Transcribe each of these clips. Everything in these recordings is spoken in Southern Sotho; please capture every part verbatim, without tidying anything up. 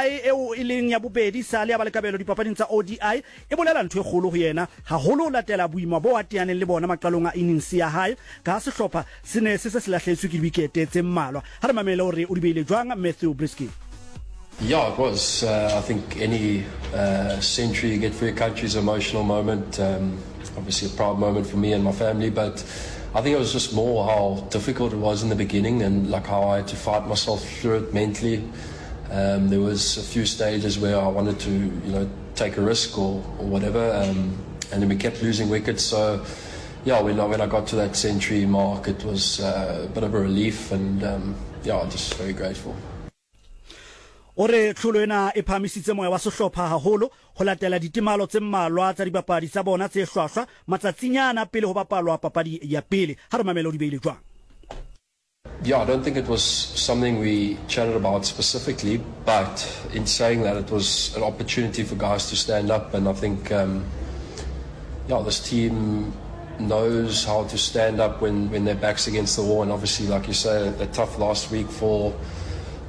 hae eo e leng ya bobedi sa le ya ba le kabelo dipapading tsa O D I e bolela ntho e kgolo ho yena, haholo ho latela boima bo a teaneng le bona maqalong a innings ya hae ka sehlopha se ne se se se lahletswe ke diwikete tse mmalwa. Ha re mamele hore o di beile jwang Matthew Breetzke. Yeah, it was. Uh, I think any uh, century you get for your country is an emotional moment. Um, obviously a proud moment for me and my family, but I think it was just more how difficult it was in the beginning and like how I had to fight myself through it mentally. Um, there was a few stages where I wanted to, you know, take a risk or, or whatever, um, and then we kept losing wickets. So, yeah, when I, when I got to that century mark, it was uh, a bit of a relief, and um, yeah, just very grateful. O re tlholo ena e phahamisitse moya wa sehlopha haholo ho latela ditemalo tse mmalwa tsa dibapadi tsa bona tse hlwahlwa matsatsinyana pele ho bapalwa papadi ya pele. Ha re mamele o di beile jwang. Yeah, I don't think it was something we chatted about specifically, but in saying that, it was an opportunity for guys to stand up, and I think, um, yeah, this team knows how to stand up when, when their back's against the wall, and obviously, like you say, a, a tough last week for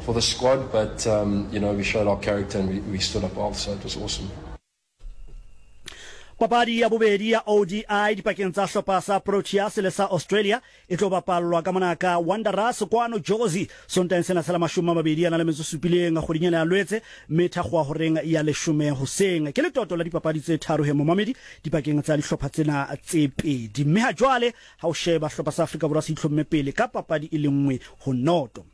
for the squad, but um, you know, we showed our character and we, we stood up well, so it was awesome. Papadi ya bobedi ya O D I dipakeng tsa hlopha sa Proteas le sa Australia e tlo bapallwa ka mona ka Wanderers kwano Jozi Sontaheng sena sa la mashome a mabedi a na le metso supileng kgweding ena ya Lwetse, mme thakgowa horeng ya leshome hoseng. Ke letoto la dipapadi tse tharo he momamedi dipakeng tsa dihlopha tsena tse pedi, mme ha jwale ha o sheba hlopha sa Afrika Borwa se itlhomme pele ka papadi e le nngwe ho noto.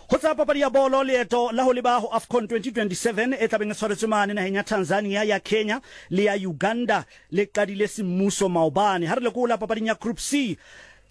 Ho tsa papadi ya bolo, leeto la ho leba ho AFCON twenty twenty-seven e tlabeng e tshwaretswe mane naheng ya Tanzania, ya Kenya le ya Uganda le qadile semmuso maobane. Ha re lekola papading ya Group C,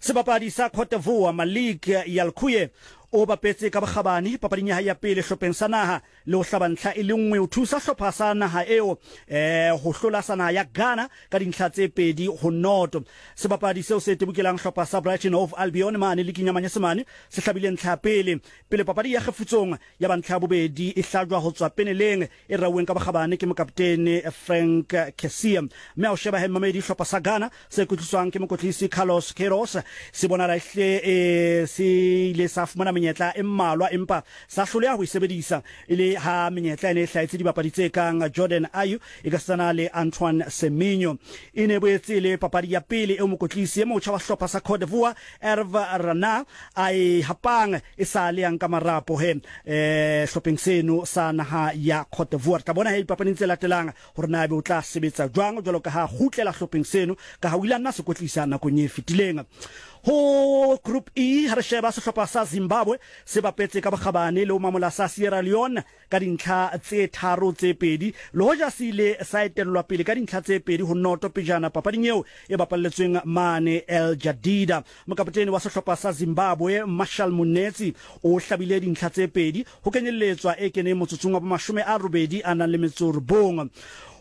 sebapadi sa Cote d'Ivoire Malik Yalkouye o bapetse ka bokgabane papading ya hae ya pele hlopheng sa naha le ho hlaba ntlha e le nngwe ho thusa hlopha sa naha eo eh ho hlola sa naha ya Ghana ka dintlha tse pedi ho noto. Sebapadi seo se tebukelang hlopha sa Brighton Hove Albion mane liking ya Manyesemane se hlabile ntlha ya pele pele papadi ya kgefutsong ya ba ntlha ya bobedi e hlajwa ho tswa peneleng e rauweng ka bokgabane ke mokaptene Frank Kessie. Mme ha o sheba he mamedi hlopha sa Ghana se kwetliswang ke mokotlisi Carlos Queiroz se bonala ehle eh se ile sa fumana menyetla e mmalwa empa sa hloleha ho e sebedisa e le ha menyetla ene e hlahetse dibapadi tse kang Jordan Ayew e ka setsana le Antoine Semenyo. E ne boetse le papadi ya pele eo mokotlisi e motjha wa hlopha sa Cote d'Ivoire Hervé Renard a e hapang e sa le yang ka marapo he eh hlopheng seno sa naha ya Cote d'Ivoire. Tla bona he dipapading tse latelang hore na ebe o tla sebetsa jwang jwalo ka ha kgutlela hlopheng seno ka ha o ile a nna se kotlisa nakong e fetileng. Ho Group E ha re sheba sehlopha sa Zimbabwe se bapetse ka bokgabane le ho mamola sa Sierra Leone ka dintlha tse tharo tse pedi, le hoja se ile sa etellwa pele ka dintlha tse pedi ho noto pejana papading eo e bapalletsweng mane El Jadida. Mokaptene wa sehlopha sa Zimbabwe Marshall Munetsi o hlabile dintlha tse pedi ho kenyelletswa e keneng motsotsong wa mashome a robedi a nang le metso robong.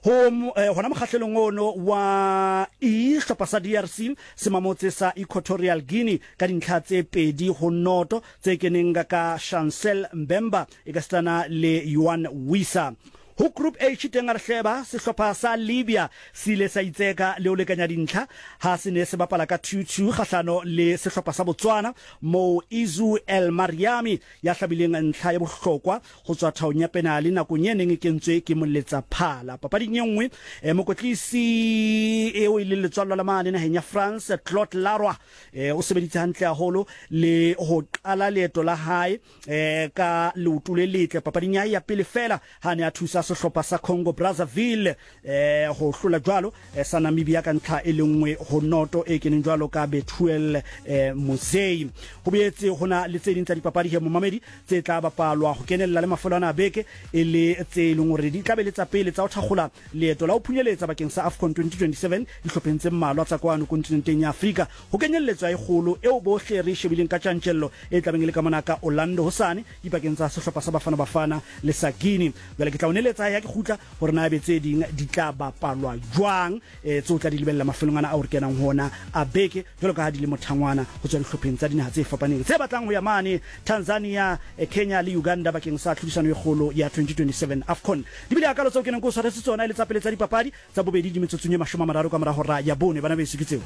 Ho hona mokgahlelong ono wa E hlopha sa D R C se mamotse sa Equatorial Guinea ka dintlha tse pedi ho noto tse keneng ka Chancel Mbemba e ka setsana le Yuan Wissa. Ho Group H teng a re hleba sehlopha sa Libya se ile sa itseka le ho lekanya dintlha ha se ne se bapala ka two two kgahlano le sehlopha sa Botswana moo Izu El Mariami ya hlabileng ntlha ya bohlokwa ho tswa thaong ya penale nakong e neng e kentswe ke moletsa phala. Papading e nngwe eh, mokotlisi eo e leng letswallo la mane naheng ya France Claude Leroy eh, o sebeditse hantle haholo le ho qala leeto la hae eh, ka leoto le letle papading ya hae ya pele fela ha ne a thusa sehlopha sa Congo Brazzaville eh ho hlola jwalo eh, sa Namibia ka ntlha e lengwe ho noto e keneng jwalo ka Bethuel eh, Mosei. Ho boetse hona le tse ding tsa dipapadi he momamedi tse tla bapalwa ho kenella le mafelo ana a beke e le tse leng hore di tla be le tsa pele tsa ho thakgola leeto la ho phunyeletsa bakeng sa AFCON twenty twenty-seven dihlopheng tse mmalwa tsa kwano kontinenteng ya Afrika ho kenyelletswa e kgolo eo bohle re shebileng ka tjantjello e tlabeng e le ka mona ka Orlando hosane dipakeng tsa sehlopha sa Bafana Bafana le sa Guinea. Jwale ke tla o neletsa ya ke kgutla hore na be tse ding di tla bapalwa jwang eh tseo tla di lebella mafelong ana a o re kenang hona a beke jwalo ka ha di le mothangwana ho tswa dihlopheng tsa dinaha tse fapaneng tse batlang ho ya mane Tanzania, Kenya le Uganda bakeng sa tlhodisano e kgolo ya twenty twenty-seven AFCON. Di bile akalo tseo ke neng ke o tshwaretse tsona e le tsa pele tsa dipapadi tsa bobedi di metsotsong e mashome a mararo ka mora hora ya bone. Bana beso ke tseo.